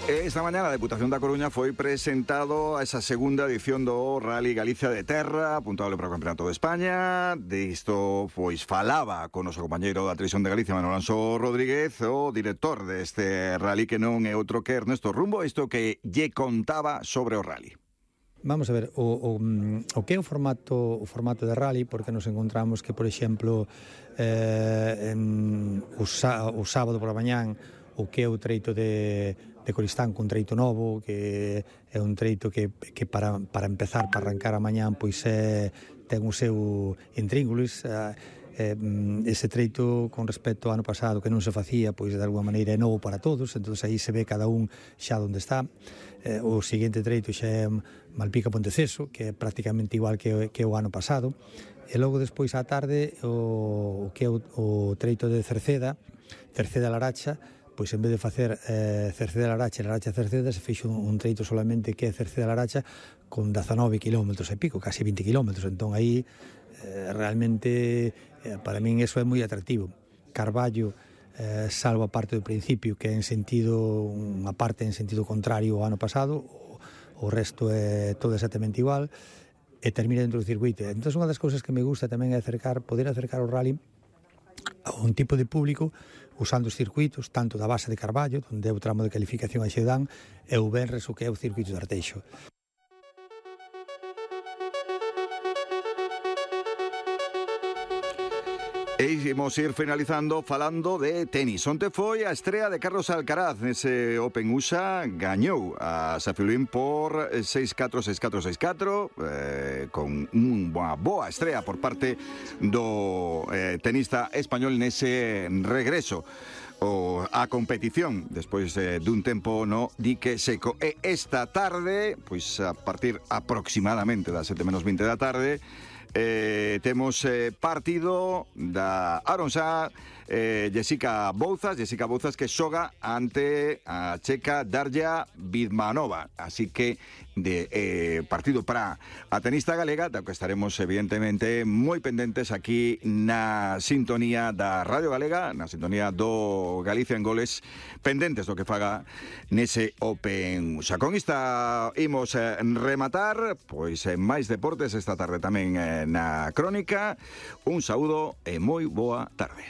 Esta mañá a Deputación da Coruña foi presentado a esa segunda edición do Rally Galicia de Terra, apuntable para o Campeonato de España. Disto, pois, falaba con o noso compañeiro da Televisión de Galicia, Manuel Alonso Rodríguez, o director deste rally, que non é outro que Ernesto Rumbo, isto que lle contaba sobre o rally. Vamos a ver, o que é o formato de rally, porque nos encontramos que, por exemplo, o sábado por a mañán, o que é o treito de Coristán, un treito novo, que é un treito que para empezar, para arrancar a mañán, pois ten o seu intríngulis. Ese treito, con respecto ao ano pasado, que non se facía, pois de alguma maneira é novo para todos, entón aí se ve cada un xa onde está. O seguinte treito xa é Malpica-Ponteceso, que é prácticamente igual que o ano pasado, e logo despois á tarde o que é o treito de Cerceda-Laracha, pois en vez de facer Cerceda-Laracha e Laracha-Cerceda, se fixo un treito solamente que é Cerceda-Laracha con 19 kilómetros e pico, casi 20 kilómetros, entón aí realmente para min eso é moi atractivo. Carballo, salvo a parte do principio, que é unha parte en sentido contrario ao ano pasado, o resto é todo exactamente igual, e termina dentro do circuito. Entón, unha das cousas que me gusta tamén é poder acercar o rally a un tipo de público usando os circuitos, tanto da base de Carballo, onde é o tramo de calificación a Xeudán, e o Benres, o que é o circuito de Arteixo. E imos ir finalizando falando de tenis. Onte foi a estrea de Carlos Alcaraz nese Open USA, gañou a Safiullín por 6-4, 6-4, 6-4, con unha boa estrea por parte do tenista español nese regreso a competición despois dun tempo no dique seco. E esta tarde, pois a partir aproximadamente das 7:20 da tarde, temos partido da Aronsá, Jessica Bouzas que xoga ante a checa Darja Vidmanova, así que partido para a tenista galega, da que estaremos evidentemente moi pendentes aquí na sintonía da Radio Galega, na sintonía do Galicia en Goles, pendentes do que faga nese Open USA. Con esta imos rematar, pois máis deportes esta tarde tamén na Crónica. Un saúdo e moi boa tarde.